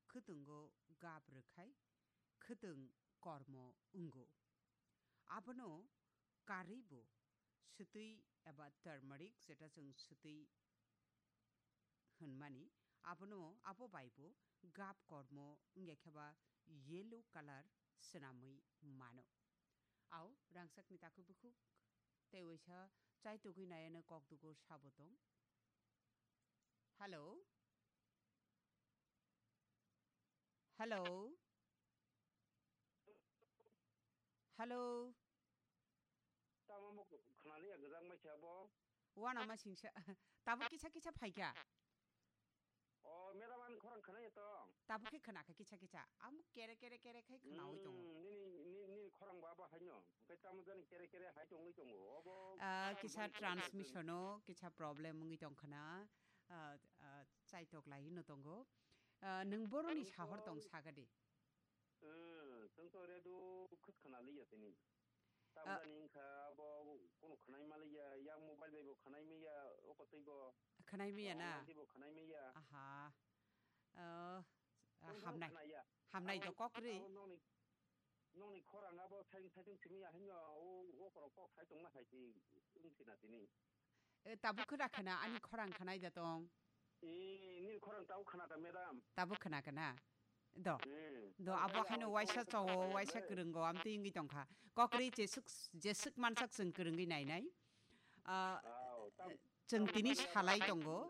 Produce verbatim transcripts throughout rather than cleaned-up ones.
khwtwngo gap rwkhai khwtwng kormo wngo. Abono karwibo swtwi eba turmeric, jeta chwng swtwi hwnmani, abono, abo baibo gap kormo wngya khe ba yellow colour swnamwi mano. Au, rangchakni takhuk bukhuk tei waisa chai tugwi nayano kok dugo sabo tong. Hello? Hello? Hello? Tamo mo khwnaliya gwdang mai khe abo. Wana ma singsa. Tabuk kisa kisa phaikha. O, madam, ani khorang khwnaya to? Tabuk khe khwnakha kisa kisa. Amo kere kere kere khai khwnawi tongo. Hmm, nini, ni-, nini khorang ba abo haino. Hwnkhe tamo jani kere kere hai tongwi tongo. Obo Ah, kisa transmission o kisa problem wngwi tongkhana. Ah, ah, chaitok lai no tongo. Ah, nwng boroni sahor tong sagadi. Hmm, chwng to radio khwt khwnaliya tini. Ah. Tamjani wngkha abo kunu khwnai maliya, yang mobile bai bo khwnai maya, o kotwi bo. Khwnai maya na? Online twi bo khwnai maya. Aha. Ah, ah, Chwng hamnai. Khwnaya. Hamnai do kok ri. Abo nokni, nokni khorang abo saitung saitung simi ya hino, o, o korok kok sai tongma hai si wngsi na tini. E, tabuk khwna khwna, ani khorang khwnai da tong. E, nini khorang tabuk khwna da, madam. Tabuk khwna khwna. Do. Hmm. Do, abo haino waisa chowo, waisa kwrwngo, amtwi wngwi tongkha. Kokri jeswk, jeswk mansak chwng kwrwngwi nainai. Ah, chwng tini salai tongo.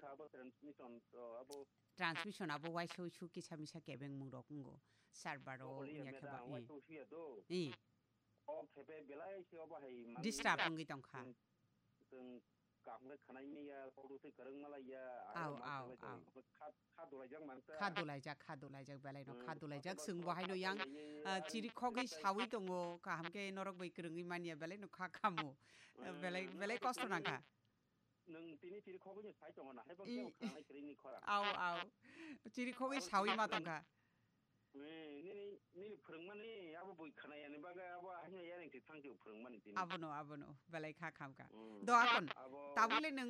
Transmission, abo waisa uisu kisa misa kebengmung rok wngo. Server o wngya khe ba, eh. Eh. Disturb wngwi tongkha. Chwng kaham khe khwnai maya, kok rwtwi kwrwng malaiya, Au, au, au. Kha, kha dolaijak mansa. Kha dolaijak, kha dolaijak, belai no kha dolaijak. Chwng bo haino yang, ah, chiri khogwi sawi tongo, kaham khe norok bai kwrwngwi manya, belai no kha khamo. Belai, belai kosto nangkha. Nwng tini chiri khogwi no sai tongo na, hai bang khe khwnai kwrwini khorang. Au, au. Chiri khogwi sawi ma tongkha. Nini, nini phwrwngmani abo bui khwnayani bagwi abo haino yareng se thangkhe phwrwngmani tini. Abono, abono, belai kha khamkha. Do akon, tabule nwng